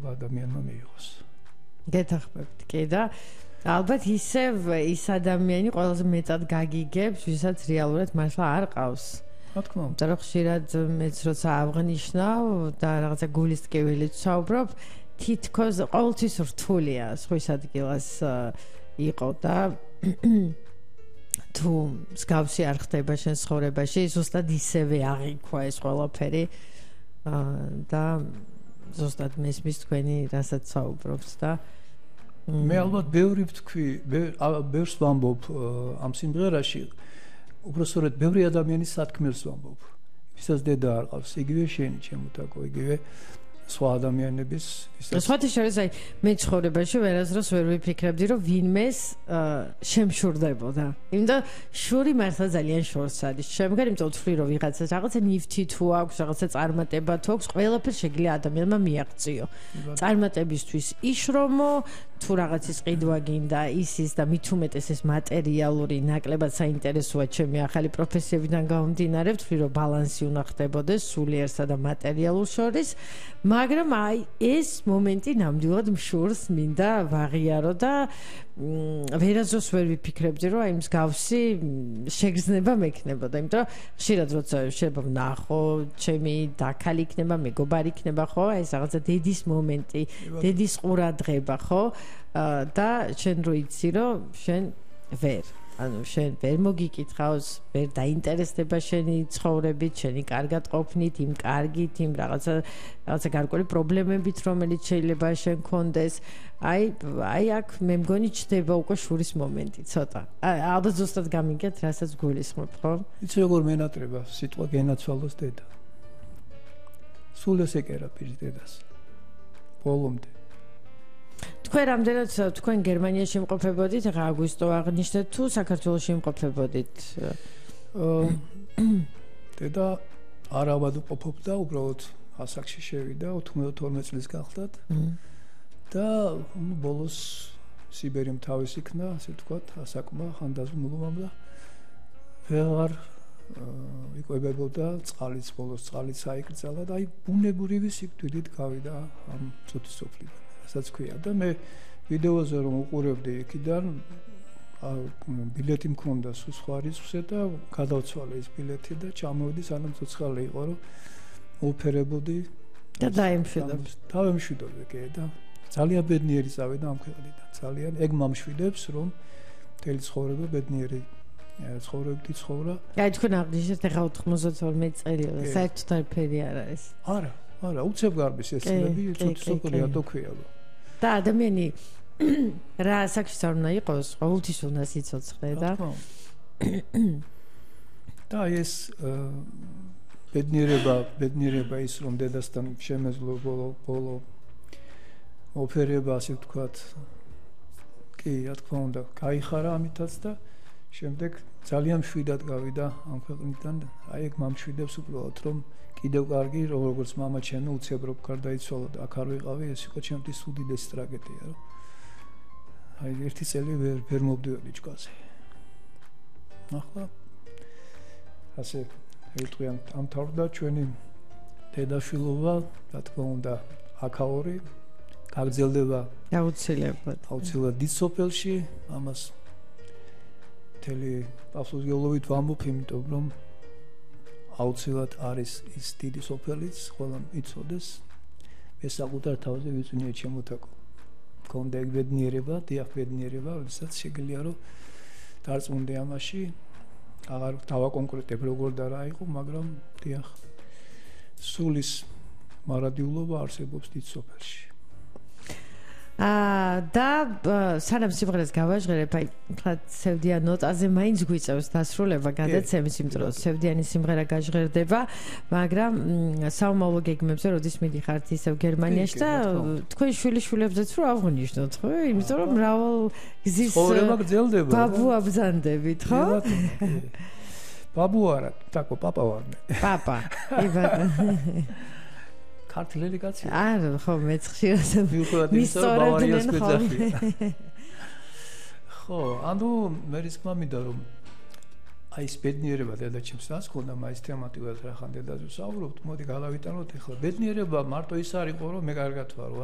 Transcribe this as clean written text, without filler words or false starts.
possibility ადამიანმა მიიღოს. გეთახმებთ, კი და ალბათ ისევ ის ადამიანი ყველაზე მეტად გაგიგებს, ვისაც რეალურად მართლა არ ყავს. რა თქმა უნდა. და ხშირად მეც როცა აღნიშნავ და რაღაცა გულის ტკივილით ვსაუბრობ, თითქოს ყოველთვის რთულია სხვის ადგილას იყო და თუ მსგავსი არ ხდება შენ ცხოვრებაში, ზუსტად ისევე აღიქვა ეს ყველაფერი და ზუსტად მესმის თქვენი რასაც საუბრობთ და მე ალბათ ბევრი ვთქვი, ბევრს ვამბობ ამ სიმღერაში, უბრალოდ ბევრი ადამიანის სათქმელს ვამბობ. ვისაც დედა არ ყავს, იგივე შენი ჩემოთაკო, იგივე სხვა ადამიანების, ვისაც სხვათა შორის აი მე ცხოვრებაში ვერასდროს ვერ ვიფიქრებდი, რომ ვინმეს შემშურდებოდა. იმიტომ შური მართლა ძალიან შორს არის. შემდგარ იმიტომ ვთვლი, რომ ვიღაცას რაღაცა ნივთი თუ აქვს, რაღაცა წარმატება თუ აქვს, ყველაფერს შეგიძლია ადამიანმა მიაღწიო. წარმატებისთვის იშრომო, თუ რაღაცის ყიდვა გინდა, ის და მით უმეტეს ეს მატერიალური ნაკლებად საინტერესოა ჩემი ახალი პროფესიებიდან გამომდინარე, ვთვლი, რომ ბალანსი უნდა ხდებოდეს სულიერსა და მატერიალურ შორის, მაგრამ აი ეს მომენტი ნამდვილად მშურს მინდა ვაღიარო და ვერასდროს ვერ ვიფიქრებდი, რომ აი მსგავსი შეგრძნება მექნებოდა, იმიტომ რომ ხშირად როცა შეიძლება ვნახო, ჩემი დაქალი იქნება, მეგობარი იქნება, ხო, აი ეს რაღაცა დედის მომენტი, დედის ყურადღება, ხო? და შენ რო იცი, რომ შენ შენ ვერ მოგიკითხავს, ვერ დაინტერესდება შენი ცხოვრებით, შენი კარგად ყოფნით, იმ კარგით, იმ რაღაცა გარკვეული პრობლემებით, რომელიც შეიძლება შენ გქონდეს. აი აქ მე მგონი ჩდება უკვე შურის მომენტი, ცოტა. ალბათ ზუსტად გამიგეთ, რასაც გულისხმობ, ხო? იცი როგორ მენატრება სიტყვა გენაცვალოს დედა. სულ ეს ეკერა პირის დედას. ბოლომდე. თქვენ რამდენად თქვენ გერმანიაში იმყოფებოდით, ახლა აგვისტო აღნიშნეთ, თუ საქართველოში იმყოფებოდით? დედა არავად უყოფობდა, უბრალოდ ასაკში შევიდა, 92 წლის გახლდათ. და ბოლოს სიბერიმ თავის იქნა, ასე ვთქვათ, ასაკმა ხანდაზმულობამ და ვეღარ იკვებებოდა წყალიც, ბოლოს წყალიც აიკრძალა და აი ბუნებრივი სიკვდილით გავიდა ამ ცოტის სოფლიდან. რასაც ქვია და მე ვიდეოზე რომ უყურებდი იქიდან ბილეთი მქონდა სხვა რიცხვზე და გადავცვალე ეს ბილეთი და ჩამოვედი სანამ ცოცხალი იყო რომ ოფერებოდი და დაიმშვიდობ. დავემშვიდობე კი და ძალიან ბედნიერი წავიდა ამ ქვეყნიდან. ძალიან ეგ მომშვიდებს რომ მთელი ცხოვრება ბედნიერი ცხოვრებდი ცხოვრა. აი თქვენ აღნიშნეთ ახლა 92 წელი, საერთოდ არაფერი არ არის. არა, უცებ გარბის ეს წლები, ცოტა თუ ქვია. და ადამიანი რა ასაკში არ უნდა იყოს, ყოველთვის უნდა სიცოცხლე და და ეს ბედნიერება ის რომ დედასთან შემეძლო ბოლო ოფერება, ასე ვთქვათ, კი, რა თქმა უნდა, გაიხარა ამითაც და შემდეგ ძალიან მშვიდად გავიდა ამ ქვეყნიდან. აი ეგ მომშვიდებს უბრალოდ რომ კიდევ კარგი, როგორც მამა ჩემი უცებ რო გარდაიცვალა და აქ არ ვიყავი, ეს იყო ჩემთვის უდიდესი ტრაგედია, რომ აი ერთი წელი ვერ მოვდივარდი ჭკუაზე. ახლა ასე ერთგვიან ამთავრდა ჩვენი დედაშვილობა, რა თქმა უნდა, აქაური გაგრძელდება აუცილებლად დიდ სოფელში, ამას მთელი პასუხისმგებლობით ვამბობ, იმიტომ რომ აუცილებლად არის ის დიდი სოფელიც, ყველამ იცოდეს. მე საკუთარ თავზე ვიწვნია ჩემოთაკო. მქონდა ეგ ბედნიერება, დიახ ბედნიერება, როდესაც შეგიძლია რომ დარწმუნდე ამაში, აღარ დავაკონკრეტებ როგორ და რა იყო, მაგრამ დიახ სულის მარადიულობა არსებობს დიდ სოფელში. და სანამ სიმღერას გავაჟღერებ, აი ხა სევდიან ნოტაზე მაინც გვიწევს დასრულება გადაცემის, იმიტომ რომ სევდიანი სიმღერა გაჟღერდება, მაგრამ საომავლო გეგმებზე როდის მიდიხართ ისევ გერმანიაში და თქვენ შვილიშვილებზეც რო აღნიშნოთ, ხო? იმიტომ რომ მრავალ გზის ცხოვრება გრძელდება. ბაბუ აბზანდებით, ხო? ბაბუ არა, თაკო პაპა ვარ მე. პაპა, იბატონო. ქართლელი კაცი. არა, ხო, მეც ხშირად მისწორებდნენ ხოლმე. ხო, ანუ მე რისკმა მინდა რომ აი ეს ბედნიერება დედაჩემს რას ქონდა მაინც თემატიკურად რა ხან დედაზე ვსაუბრობთ, მოდი გავავიტანოთ ახლა. ბედნიერება მარტო ის არ იყო რომ მე კარგად ვარო.